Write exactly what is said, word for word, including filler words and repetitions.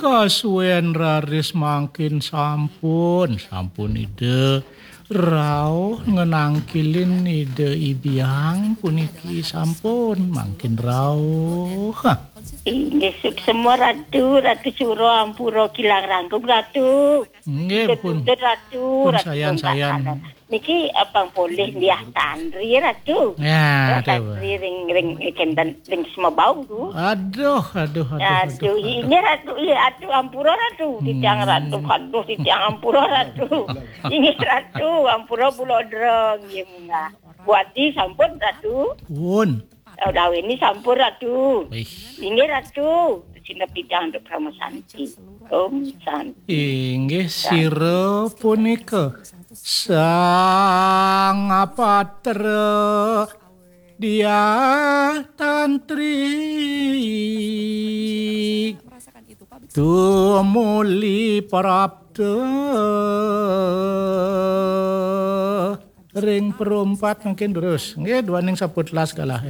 Kasuwen raris mangkin sampun, sampun Ida rauh ngenangkilin Ida Ibiang puniki sampun mangkin rauh. Hah. Inggih, suksema Ratu, Ratu Suro ampura kilang rangkung Ratu. Nggih, pun. Tutut Ratu, pun Ratu sayan-sayan. Niki abang polih liah tantri Ratu. Ya, liah tantri ring ring kenten ring semebau tu. Aduh, aduh, aduh, aduh, aduh. Inggih Ratu, iya Ratu ampura Ratu. Hmm. Titiang Ratu, aduh titiang ampura Ratu. Inggih Ratu, ampura bulodra nggih munggah. Buati sampun Ratu. Pun. Daweni sampun Ratu. Wih. Inggih Ratu. Sinep titiang untuk Parama Santi. Om Santi. Inggih sira punika Sang Patra Diah Tantri tumuli prapta ring perumpat mungkin terus. Nggih, duaning saputlas galah.